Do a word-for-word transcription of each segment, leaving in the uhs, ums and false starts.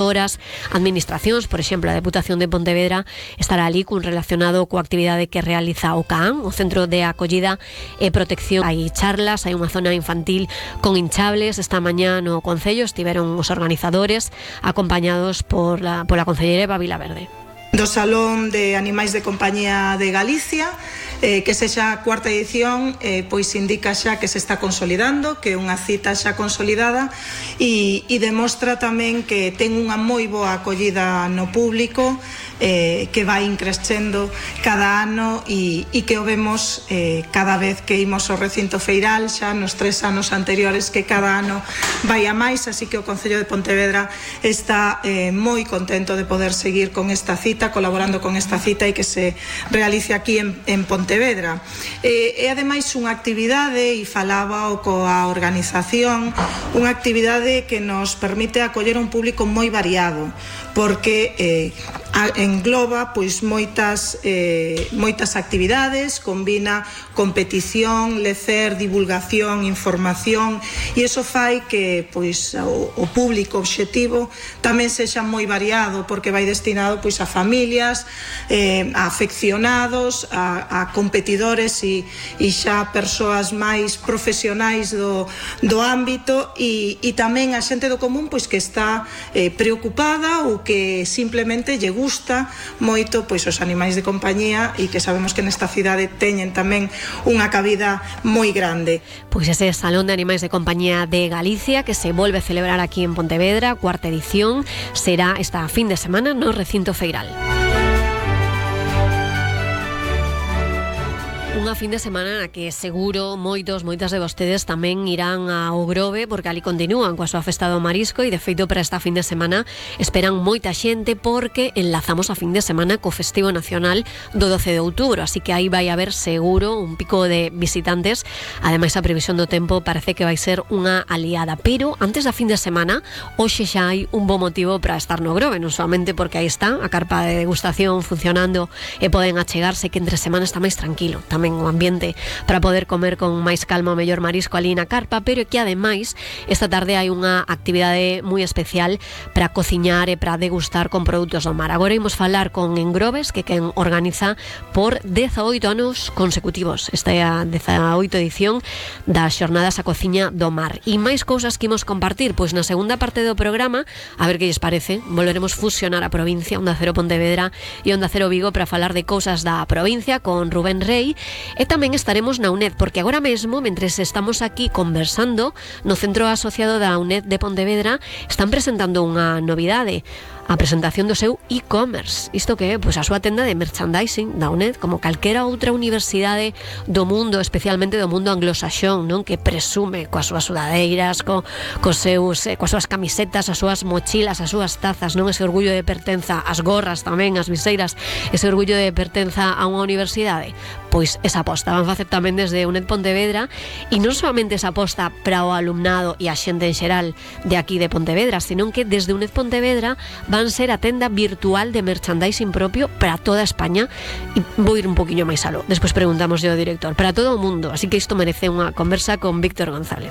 horas, administracións, por exemplo, a Deputación de Pontevedra estará ali cun relacionado coa actividade que realiza o C A N, o Centro de Acollida e Protección. Hai charlas, hai unha zona infantil con hinchables. Esta mañá no Concello estiveron os organizadores acompañados por la, pola Concelleira Eva Vilaverde. Do Salón de Animais de Compañía de Galicia, eh, que sexa a cuarta edición, eh, pois indica xa que se está consolidando, que é unha cita xa consolidada e, e demostra tamén que ten unha moi boa acollida no público, eh, que vai increscendo cada ano e, e que o vemos eh, cada vez que imos ao recinto feiral, xa nos tres anos anteriores, que cada ano vai a máis, así que o Concello de Pontevedra está eh, moi contento de poder seguir con esta cita, colaborando con esta cita e que se realice aquí en, en Pontevedra. Eh, é ademais unha actividade, e falaba o coa organización, unha actividade que nos permite acoller un público moi variado, porque eh, engloba pois moitas eh, moitas actividades, combina competición, lecer, divulgación, información, e iso fai que pois o, o público obxectivo tamén sexa moi variado, porque vai destinado pois a familias, eh, a afeccionados, a, a competidores e, e xa persoas máis profesionais do, do ámbito, e, e tamén a xente do común pois que está eh, preocupada ou que simplemente lle gusta moito pois os animais de compañía, e que sabemos que nesta cidade teñen tamén unha cabida moi grande. Pois ese Salón de Animais de Compañía de Galicia, que se volve a celebrar aquí en Pontevedra, cuarta edición, será esta fin de semana no recinto feiral. Unha fin de semana na que seguro moitos, moitas de vostedes tamén irán ao Grove, porque ali continúan coa súa festa do marisco, e de feito para esta fin de semana esperan moita xente, porque enlazamos a fin de semana co Festivo Nacional do doce de outubro, así que aí vai haber seguro un pico de visitantes. Ademais, a previsión do tempo parece que vai ser unha aliada, pero antes da fin de semana hoxe xa hai un bo motivo para estar no Grove, non solamente porque aí está a carpa de degustación funcionando e poden achegarse, que entre semana está máis tranquilo tamén o ambiente para poder comer con máis calma o mellor marisco ali na carpa, pero que ademais esta tarde hai unha actividade moi especial para cociñar e para degustar con produtos do mar. Agora imos falar con Engroves, que quen organiza por dezaoito anos consecutivos esta é a dezaoito edición das Xornadas a Cociña do Mar. E máis cousas que imos compartir, pois na segunda parte do programa, a ver que lles parece, volveremos fusionar a provincia, Onda Cero Pontevedra e Onda Cero Vigo, para falar de cousas da provincia con Rubén Rey. E tamén estaremos na UNED, porque agora mesmo, mentres estamos aquí conversando, no Centro Asociado da UNED de Pontevedra están presentando unha novidade, a presentación do seu e-commerce. Isto que é? Pois a súa tenda de merchandising da UNED, como calquera outra universidade do mundo, especialmente do mundo anglosaxón, non? Que presume coas súas sudadeiras, co, cos seus, eh, coas súas camisetas, as súas mochilas, as súas tazas, non? Ese orgullo de pertenza, as gorras tamén, as viseiras, ese orgullo de pertenza a unha universidade. Pois esa aposta van facer tamén desde UNED Pontevedra, e non solamente esa aposta para o alumnado e a xente en xeral de aquí de Pontevedra, senón que desde UNED Pontevedra van ser a tenda virtual de merchandising propio para toda España, e vou ir un poquinho máis aló, despois preguntamos ao director, para todo o mundo, así que isto merece unha conversa con Víctor González.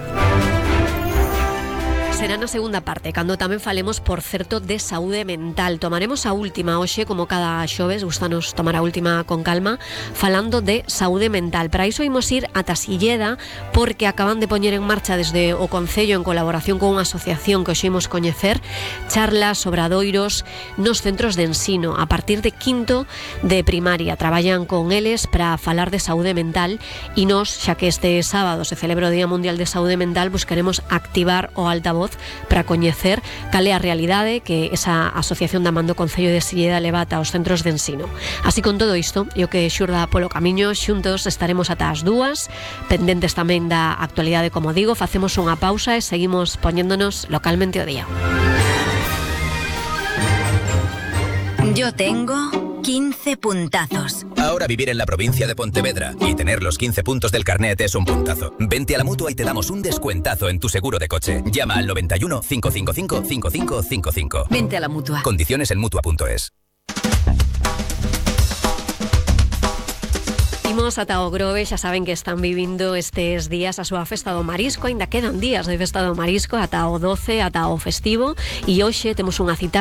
Será na segunda parte, cando tamén falemos, por certo, de saúde mental. Tomaremos a última hoxe, como cada xoves, gustanos tomar a última con calma, falando de saúde mental. Para iso imos ir ata Silleda, porque acaban de poñer en marcha desde o Concello, en colaboración con unha asociación que hoxe imos coñecer, charlas, obradoiros nos centros de ensino, a partir de quinto de primaria. Traballan con eles para falar de saúde mental, e nos, xa que este sábado se celebra o Día Mundial de Saúde Mental, buscaremos activar o altavoz para coñecer cal é a realidade que esa asociación da Mando Concello de Silleda levata aos centros de ensino. Así, con todo isto, e o que xurda polo camiño, xuntos estaremos ata as dúas, pendentes tamén da actualidade, como digo. Facemos unha pausa e seguimos poñéndonos localmente o día. Yo tengo quince puntazos. Ahora vivir en la provincia de Pontevedra y tener los quince puntos del carnet es un puntazo. Vente a la Mutua y te damos un descuentazo en tu seguro de coche. Llama al noventa y uno, cinco cinco cinco, cinco cinco cinco cinco. Vente a la Mutua. Condiciones en mutua punto es. Imos ata o Grove, xa saben que están vivindo estes días a súa festa do marisco, aínda quedan días de festa do marisco ata o doce, ata o festivo, e hoxe temos unha cita